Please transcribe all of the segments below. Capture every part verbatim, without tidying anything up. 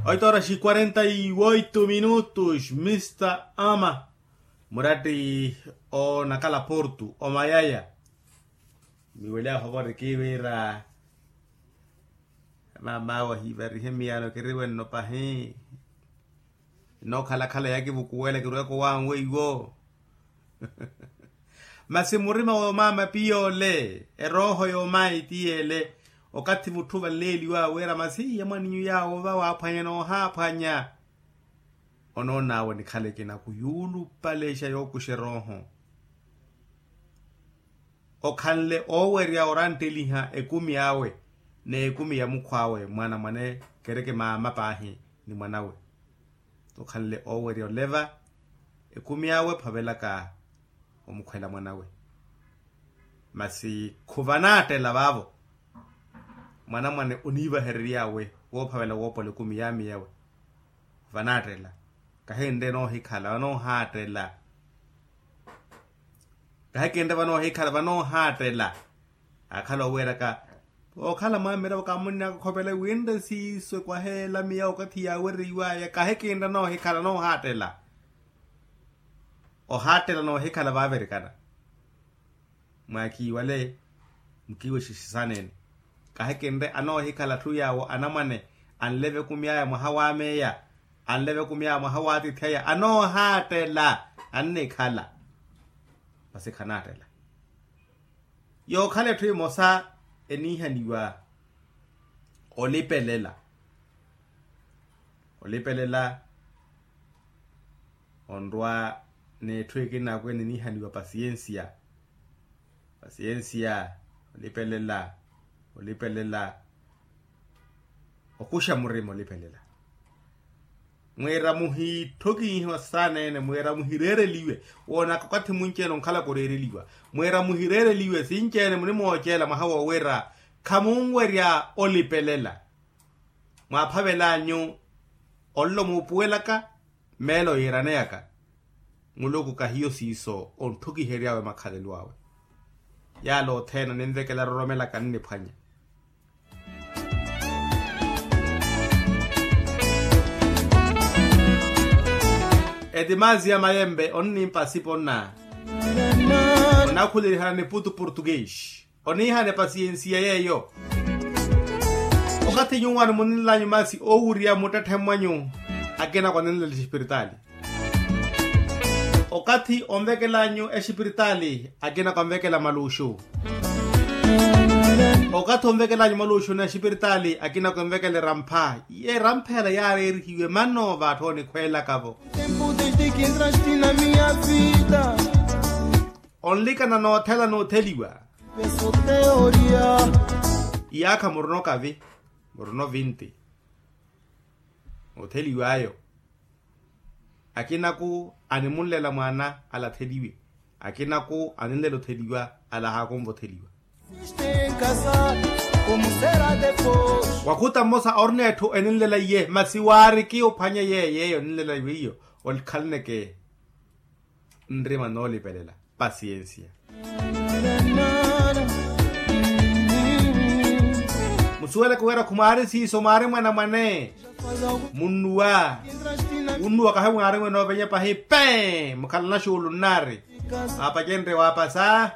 Oito horas e quarenta e oito minutos mista ama. Muratti onakala portu omayaya. Miwelya ohovori kiiwira. Mama wahiivarihe miyano kiriwenno pahi. Nookhalakhala yakivukuwela kirweko wanwe iwo. Masi murima woomaama piyole erooho yoomayi tiyele. Okathi mutthu vanleeliwa wira masi iya mwaninyu yaawo va waaphwanya noohaaphwanya. Onoon'awe nikhala ekinaku yuulupalexa yookuxa erooho. Okhanle oowerya orantteliha ekumi awe n'ekumi ya mukhw'awe mwanamwane kereke maama paahi ni mwanawe. Okhanle oowerya oleva ekumi awe ophavelaka omukhwela mwanawe. Masi khuvanaattela vaavo. Mwanamwane oniivaherery'awe woophavela woopola ekumi yaamiyawe. Vanaattela. Kahinre noohikhala vanoohaattela. Kahikinre vanoohikhala vanoohaattela. Akhala oweeraka okhala mwamiravo kamunni akakhopela winre siiso ekwaheela miya okathi yaawereiwaya kahikinre noohikhala noohaattela. Ohaattela noohikhala vaavirikana. Mwaakiiwale mukiiwexexe saana ene. Kahikinre anoohikhala atthu yaawo anamwane anleve ekumi aya mwaha wa meya. Anleve ekumi aya mwaha wa atiithi aya anoohaattela. Annikhala. Masi khanaattela. Yookhala etthu emosa eniihaniwa olipelela. Olipelela onrwa n'etthu ekinakwene eniihaniwa pasiyensiya. Pasiyensiya. Olipelela. Olipelela. Okuxa murima olipelela. Mwiira muhitthokihiwa saana ene mwiira muhireereliwe. Woonaka okathi munci-ene onkhalaka oreereliwa. Mwiira muhireereliwe sinci-ene munimooceela mwaha woowira khamunwerya olipelela. Mwaaphavel'anyu onlo muupuwelaka meelo yiiraneyaka. Muluku kahiyo siiso ontthukihery'awe makhalelo awe. Yaala othene oninvekela eroromelaka nniphwanya. Etimazi ya mayempe onnimpasipa onna. Onakhulerihana niputu portugues. Oniihana epasiyensiya yeeyo. Okathi nyuwo animunenl'anyu masi oowurya muttetthe mwanyu akinako aninlela exipiritaali. Okathi onvekel'anyu exipiritaali akinako anvekela maluxu. Okathi onvekel'anyu maluxu na exipiritaali akinako envekela erampha. Erampha ela yaareerihiwe mano vaatthu onikhweelakavo. Onlikana noothela nootheliwa. Iyaakha muruno kavi muruno vinti. Otheliw'ayo akinaku animunlela mwaana ala atheliwe. Akinaku aninlela otheliwa ala ahaakunva otheliwa. Wakhuta mmosa orina etthu eninlela iye masi waariki ophwanya yeeyo eninlela weiyo. Olikhaleneke nrima noolipelela pasiyensiya. Musuweleke wira khumwaari siiso mwaari mwanamwane. Munnuwa. Wunnuwa kahi mwaari mwene ovenya pahi pee mukhalana xuulu nnaari. Mwaapacenrye waapasa.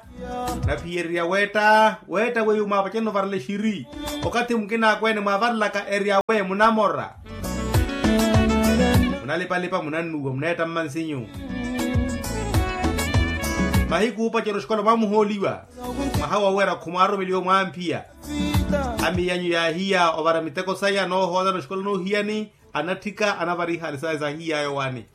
Naphiyererya weetta weetta weiwo mwaapacenrye ovarela exiri. Okathi mukina akweene mwaavarelaka eri awe munamora. Munalipalipa munannuwa muneetta mmansinyu. Mahiku oopacerya oxikola mwaamuhooliwa. Mwaha woowerya khumwaarumeliwa mwaampiya. Amiyanyu yaahiya ovara miteko saya noohoolana oxikola noohiyani. Anatthika anavara ihaali saya saahiyaya owaani.